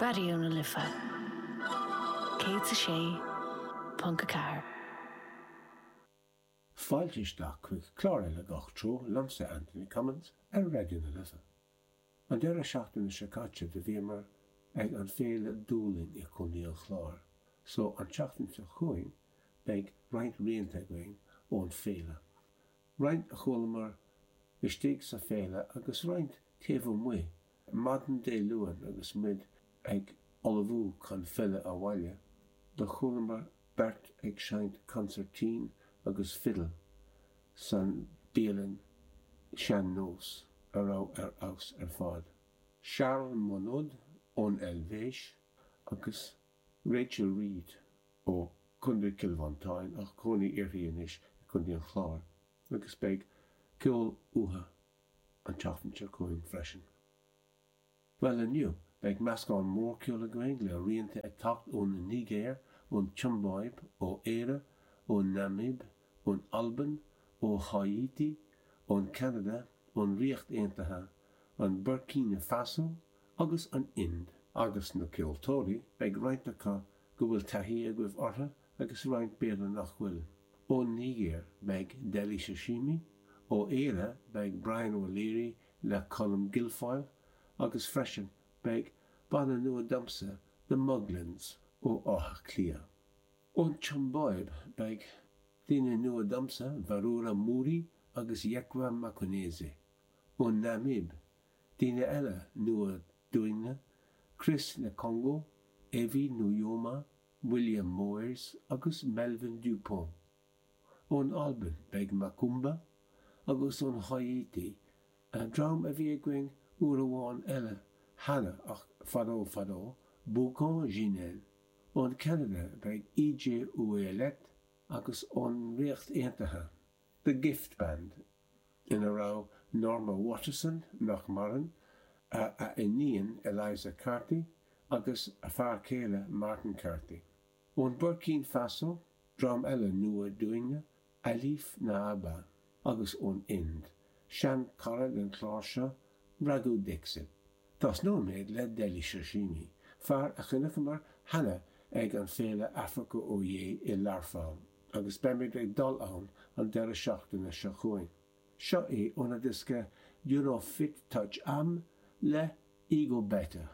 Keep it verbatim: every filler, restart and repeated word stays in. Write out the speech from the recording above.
Raidió na Life céad a sé ponc a ceathair. Fáilte isteach chuig clár eile Gach Treo liomsa Anthony Cummins ar Raidió na Life. An deireadh seachtaine seo caite do bhíomar ag an féile Dúlainn i gContae an Chláir, so an tseachtain seo chugainn beidh roinnt rianta againn ón féile. Roinnt a chualamar istigh sa féile agus roinnt taobh amuigh, maidin Dé Luain agus muid ag ullmhú chun filleadh abhaile, do chualamar beirt ag seinnt consairtín agus fidil san bialann sean-nós a raibh ar fheabhas ar fad. Charles Monod ón Eilvéis agus Rachel Reid ó Chontae Chill Mhantáin ach cónaí uirthi anois i Contae an Chláir agus beidh ceol uathu an tseachtain seo chugainn freisin. Well inniu beidh meascán mór ceoil againn le rianta ag teacht ón Nigéir, ón tSiombáib, ó Éire, ón Namaib, ón Albain, ó Háítí, ón Canada, ón Ríocht Aontaithe, an Burkina Faso agus an Ind. Agus na ceoltóirí beidh roinnt acu go bhfuil taithí agaibh orthu agus roinnt b'fhéidir nach bhfuil. Ón Nigéir beidh Dele Sosimi, ó Éire beidh Brian O'Leary le Colm Guilfoyle agus freisin beidh banna nua domsa The Muglins ó Áth Cliath. Ón tSiombáib beidh daoine nua domsa Varura Muri agus Yekwa Makonese. Ón Namaib, daoine eile nua dúinne, Chris Nekongo, Evi Nujoma, William Moyers agus Melvin Dupont. Ón Albain beidh Macumba agus ón Háítí, dream a bhí againn uair amháin eile cheana ach fadó fadó, Boucan Ginen. Ón Canada beidh EJ Ouellet agus ón Ríocht Aontaithe, The Gift Band, ina raibh Norma Waterson nach maireann, a a iníon Eliza Carthy agus a fear céile Martin Carthy. Ón Burkina Faso, dream eile nua dúinne, Alif Naaba agus ón Ind, sean cara den chlár seo, Raghu Dixit. Tosnóimid le Dele Sosimi, fear a chonaiceamar cheana ag an féile Africa Oye i Learpholl, agus beimid ag dul ann an deireadh seachtaine seo chugainn. Seo é óna diosca You No Fit Touch Am le Ego Better.